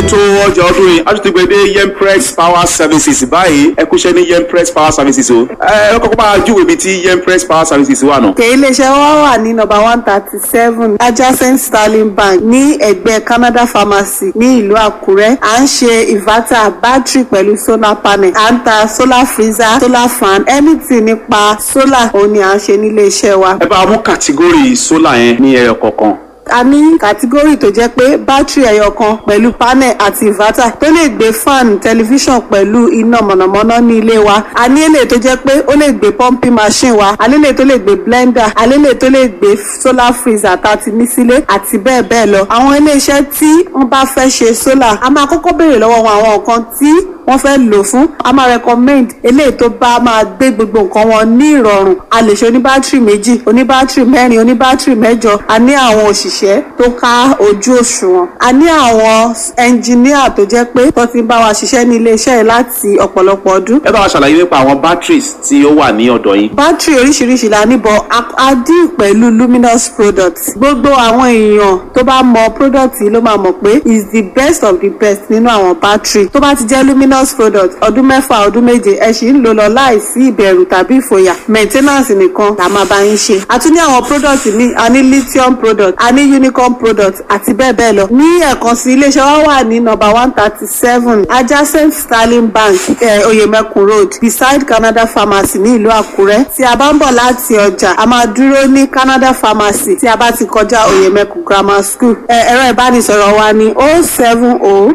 Ètò ọjà ọdún yìí a tún ti gbé dé Yempress Power Services báyìí. Ẹ kúṣẹ́ ní Yempress Power Services o. Ẹ kọ́kọ́ bá a júwèé ibi tí Yempress Power Services wà nù. Òkè iléeṣẹ́ wa wà ní nọ́mbà 137, adjacent Sterling Bank, ní ẹ̀gbẹ́ Canada Pharmacy ní ìlú Àkúrẹ́. À ń ṣe inverter, battery pẹ̀lú solar panel. À ń ta solar freezer, solar fan, anything nípa solar òun ni à ń ṣe nílé iṣẹ́ wa. Ẹ bá a mú category solar yẹn ní ẹyọ kọ̀ọ̀kan. A ní category tó jẹ́ pé bátìrì ẹyọ kan pẹ̀lú panel àti inverter tó lè gbé fan, tẹlifíṣàn pẹ̀lú iná mọ̀nàmọ́ná ní ilé wa. A ní èlé tó jẹ́ pé ó lè gbé pumping machine wa. A ní èlé tó lè gbé blender. A ní èlé tó lè gbé solar freezer tá a ti ní sílé àti bẹ́ẹ̀ bẹ́ẹ̀ lọ. Àwọn iléeṣẹ́ tí wọ́n bá fẹ́ ṣe solar, a máa kọ́kọ́ béèrè lọ́wọ́ wọn àwọn nǹkan tí wọ́n fẹ́ lò fún. A máa recommend eléyìí tó bá máa gbé gbogbo nǹkan wọn ní ìrọ̀rùn. A lè ṣe oníbátìrì 2, oníbátìrì 4, oníbátìrì 8. A ní àwọn òṣìṣẹ́ tó ká ojú òṣùwọ̀n. A ní àwọn ẹnjìníà tó jẹ́ pé tó ti ń bá wa ṣiṣẹ́ ní iléeṣẹ́ yìí láti ọ̀pọ̀lọpọ̀ ọdún. Ẹ bá wa ṣàlàyé nípa àwọn batteries tí ó wà ní ọ̀dọ̀ yín. Bátìrì oríṣiríṣi la ní, bọ̀ a deal pẹ̀lú Luminous products. Gbogbo àwọn èèyàn tó bá mọ product yìí ló máa mọ̀ pé is the best of the best nínú àwọn bátìrì. Tó bá ti jẹ́ Luminous product, ọdún 6, ọdún 7, ẹ sì ń lò lọ láìsí ìbẹ̀rù tàbí ìfòyà. Maintenance nìkan la máa bá yín ṣe. A tún ní àwọn product míì. A ní lithium product, a ní unicorn product àti bẹ́ẹ̀ bẹ́ẹ̀ lọ. Ní ẹ̀kan sí, iléeṣẹ́ wa wà ní nọ́mbà 137, adjacent Sterling Bank, Oyemekun Road, beside Canada Pharmacy ní ìlú Àkúrẹ́. Tí a bá ń bọ̀ láti ọjà, a máa dúró ní Canada Pharmacy tí a bá ti kọjá Oyemekun Grammar School. Ẹ̀rọ ìbánisọ̀rọ̀ wa ní 070